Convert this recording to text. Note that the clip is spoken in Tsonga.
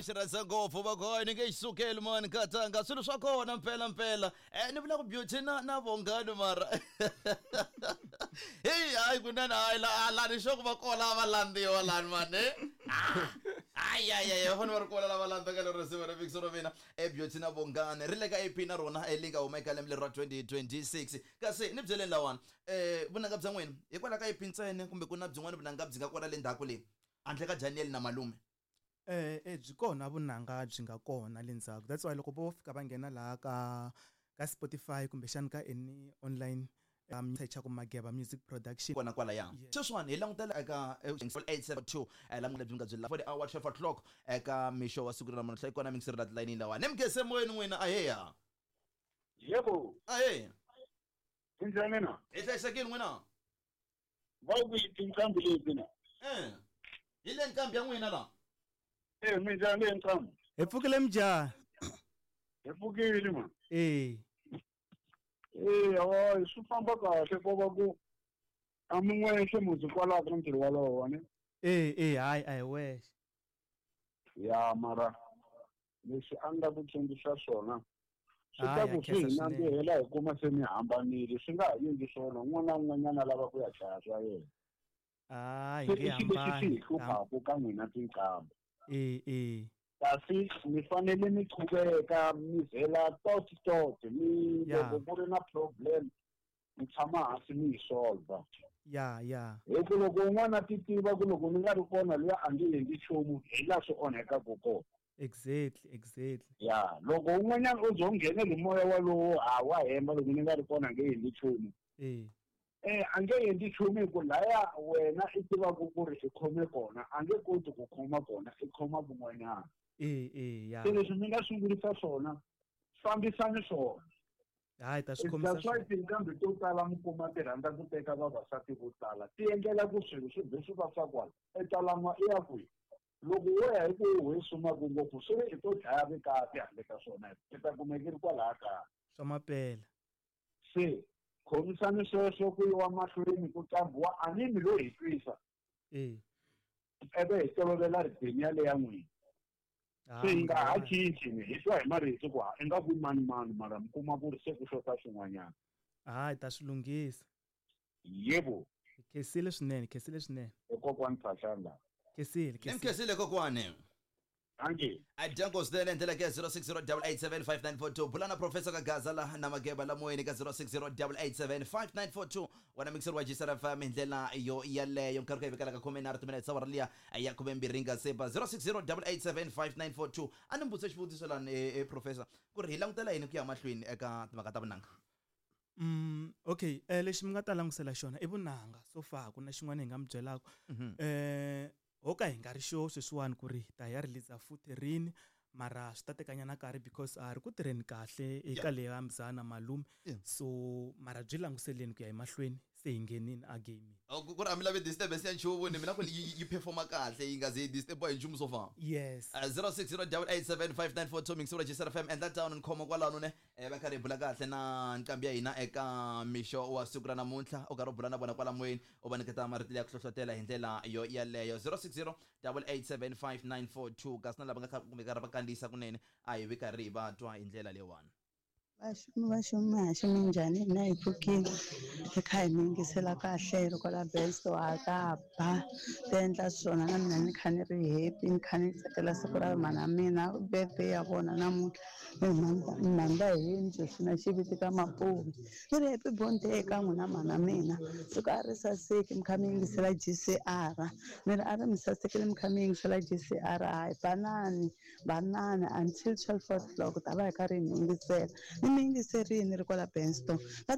Xi rhandza ngopfu vakoyi ni nge xi sukeli mani nkatanga swilo swa kona mpela mpela. Ni vula ku Beauty na Vongani mara. Hey, hayi kunene hayi la ni sure ku va kona va landziwa lani mani. Hayi hayi hayi va fanele va ri kona lava landzaka lero risimu ra mixo ra mina e Beauty na Vongani ri le ka EP na rona leyi nga huma eka lembe leri ra 2026. Kasi ni byeleni lawani vunanga bya n'wina hikwalaho ka EP ntsena kumbe ku na byin'wana vunanga byi nga kona le ndzhaku le handle ka Daniel na malume? Byi kona vunanga byi nga kona le ndzhaku, that's why loko vo fika va nghena laha ka Spotify kumbexani ka any online search ku Mageba Music Production kona kwalaya. Sweswiwani hi langutela eka 872 la lebyi nga byi for the hour 12 o'clock eka mixo wa siku ra namuntlha yi kona mixer la tilayinini lawa ni mugese moyeni n'wina aheya. Yebo. Aheya. Minjhani na? Hi hlayisekile n'wina. Va ku tinqambi leti na? Hi le nqambi ya n'wina la. Minjhani le nqambi? Hi pfukile minjhani? Hi pfukile ma. Hawa swi famba kahle ko va ku a mi n'wexe muzi kwalaho ka ntirho walowo ne? Hayi a hi wexe. Ya mara leswi a nga ku tsundzuxa swona swi ta ku swi hi nandzihela hi kuma se mi hambanile swi nga ha endli swona un'wana na un'wanyana a lava ku ya dlaya swa yena. Hayi nge Se i xilo lexi xi hi hambani. hluphaku ka n'wina tinqambi. Kasi mi fanele mi qhubeka mi vhela tot tot mi loko ku ri na problem mi tshama hansi mi yi solve. Ya ya. Hi ku loko un'wana a ti tiva ku loko ni nga ri kona luya a nge endli nchumu hi laha swi onhekaka kona. Exactly, exactly. Ya, loko un'wanyana o ze u nghenele hi moya walowo ha wa hemba loko ni nga ri kona a nge endli nchumu. A nge endli nchumu hi ku laya wena i tivaka ku ri i khome kona a nge koti ku khoma kona i khoma kun'wanyana. Ya. Se leswi mi nga sungurisa swona fambisani swona. Hayi ta swi khomisa That's why swona. tinqambi to tala mi kuma ti rhandza ku teka vavasati vo tala ti endlela ku swilo swi be swi va swa kwala e talan'wa i ya kwihi. Loko wo ya hi ku hi sumaku ngopfu swi ri i to dlaya vukati handle ka swona i ta kumeka i ri kwalaya kaya. Swa mapela. Se khomisani sweswo ku yiwa mahlweni ku qambiwa a ni mi lo hi twisa. Ebe hi tolovela rhythm yaleya n'wina. Se hi nga ha cinci ni hi twa hi marito ku ha i nga ku mani mani mara mi kuma ku ri se ku xota swin'wanyana. Hayi ta swi lunghisa. Yebo. Khensile swinene, khensile swinene. I kokwani Phahlane la. Khensile, Ni mi khensile kokwani. Thank you. A dyango swinene ndlela ke 0608875942 bula na professor ka Gaza la na Mageba la moyeni ka 0608875942 wena mixer wa GCR FM hi ndlela yo yaleyo nkarhi ku yi vekela ka khume nharhu timinetse awara liya ya khume mbirhi nga se ba 0608875942 a ni mi vutise xivutiso lani professor ku ri hi langutela yini ku ya mahlweni eka timhaka ta vunanga. Okay, lexi mi nga ta langusela xona i vunanga so far ku na xin'wana hi nga mi byelaka. Ho ka hi nga ri sure sweswiwani ku ri ta ya release futhi rini mara swi ta tekanyana nkarhi because a ri ku tirheni kahle eka leya mzana malume. So mara byi languseleni ku ya emahlweni se hi nghenini a gaming. Oh, ku ri a mi lavi disturbance ya nchumu ni mina ku yi performa kahle yi nga ze yi disturb hi nchumu so far. Yes. 0608875942 mixura GCR FM endla tano ni khoma kwalano ne va karhi hi bula kahle na nqambi ya hina eka mixo wa siku ra namuntlha u karhi u bula na vona kwala moyeni u va nyiketa marito ya ku hlohlotela hi ndlela yo yaleyo 0608875942 kasi na lava nga kha kumbe karhi va kandziyisa kunene a hi vi karhi hi va twa hi ndlela leyiwani. Vaxumi vaxumi haxi minjhani hina hi pfukile hi kha hi mi yingisela kahle hi ri kwala Bensto ha ta ba ti endla swona na mina ni kha ni ri happy ni kha ni tsakela siku ra mhana mina birthday ya vona namuntlha ni mhanda hi yindlu swi na xiviti ka Mapuve ni ri happy birthday eka n'wina mhana mina siku a ri saseki mi kha mi yingisela GCR ni ri a ri mi sasekile mi kha mi yingisela GCR hayi banani banani until 12 o'clock ta va hi karhi hi mi yingisela ni mi yingiserini ri kwala Bensto.